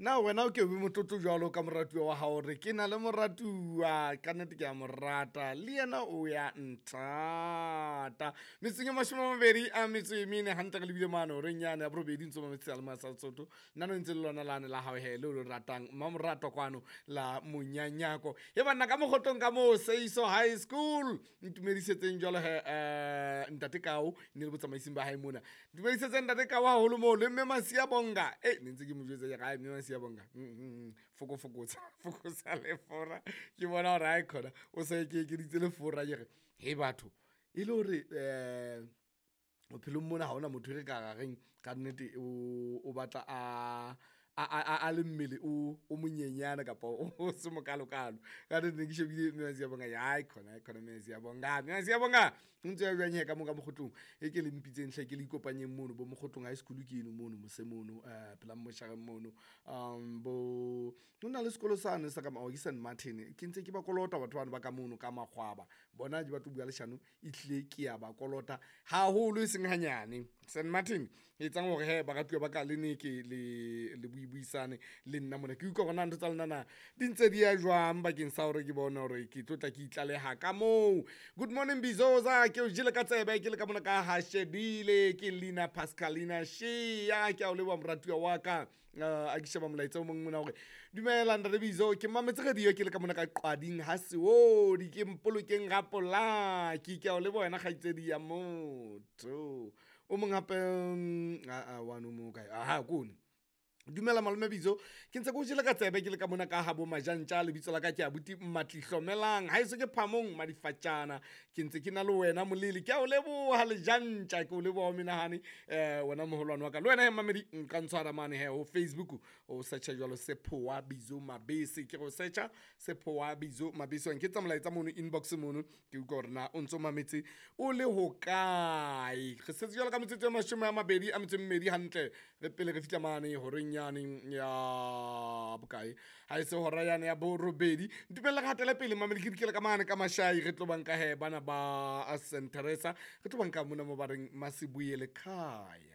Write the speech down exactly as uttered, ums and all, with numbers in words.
Na wena o ke be motlotlo jwalo ka moratuwa wa hao re ke na le moratuwa ka nnete ke a mo rata le yena o ya nthata. Metsotsong e mashome a mabedi a metso e mene hantle re lebile mane horeng yane ya borobedi ntso mametse seyalemoya sa Sesotho. Nna no ntse le lona lane la hao he leo le ratang mmamoratwa kwano la monyanyako. E banna ka mokgotlong ka moo Seiso High School ntumedisetseng jwalo he eh, ntate Kao ne le botsamaising ba hae mona. Ntumedisetseng ntate Kao haholo moo le mme Masia Bonga. Eh ne ntse ke mo jwetsa ke re, "Ai, mme Masia Bonga mm, mm, mm, foko fokotsa fokotsa lefora." Ke bona hore hae khona o sa e ke ekeditse lefora ke re he batho e le hore eh bophelong mona ha hona motho e re ka ra reng ka nnete o o batla a a a a le mmele o o monyenyane kapa o se mokalokalo. Ka nnete ne ke shebile mme Masia Bonga ai khona ai khona mme Masia Bonga mme Masia Bonga o ntse ya jwang he ka mo ka mokgotlong e ke le mpitseng hle ke le ikopanyeng mono bo mokgotlong high school ke eno mono mose mono eh pela moshareng mono um bo ho na le sekolo sane sa ka oh, ke St Martin ke ntse ke ba kolota batho bano ba ka mono ka makgwaba bona ke batlo bua leshano ehlile ke ya ba kolota haholo e seng hanyane. St Martin e etsang hore he baratuwa ba ka le ne ke le le buibuisane le nna mona ke utlwa hore na ntho tsa lona na di ntse di ya jwang bakeng sa hore ke bone hore ke tlo tla ke itlaleha ka moo. Good morning Bizoza, ke o jele ka tsebe ke le ka mona ka ha shebile ke Lina Pascalina Shea ke a o leboha moratuwa wa ka. Uh, a ke sheba molaetsa o mong mona hore dumela ntate Bizo ke mametse radio ke le ka mona ka Qwading ha Seodi ke mpolokeng ga polaki ke a o leboha wena kgaitsedi ya motho. O mong hape mm, a a wano mo kae aha kone. Dumela malome Bizo ke ntse ke o jele ka tsebe ke le ka mona ka ha bo Majantja lebitso la ka ke abuti Mmatlihlomelang ha eso ke Phamong Madifatjana ke ntse ke na le wena molele ke a o leboha Lejantja ke o leboha o menahane eh wena moholwane wa ka le wena he mamedi nka ntshwara mane he ho Facebook o searcha jwalo Sephowa Bizo Mabese ke go searcha Sephowa Bizo Mabese wa nketsa molaetsa mono inbox mono ke utlwa hore na o ntso mametse o le hokae. Re setse jwalo ka metsotso e mashome a mabedi a metso e mmedi hantle re pele re fihla mane horeng yane ya bokae ha e se hora yane ya borobedi. Ntumelle re hatele pele mamedi ke dikele ka mane ka Mashai re tlo banka he bana ba Saint Teresa re tlo banka mona mo ba reng Masibuyele Khaya.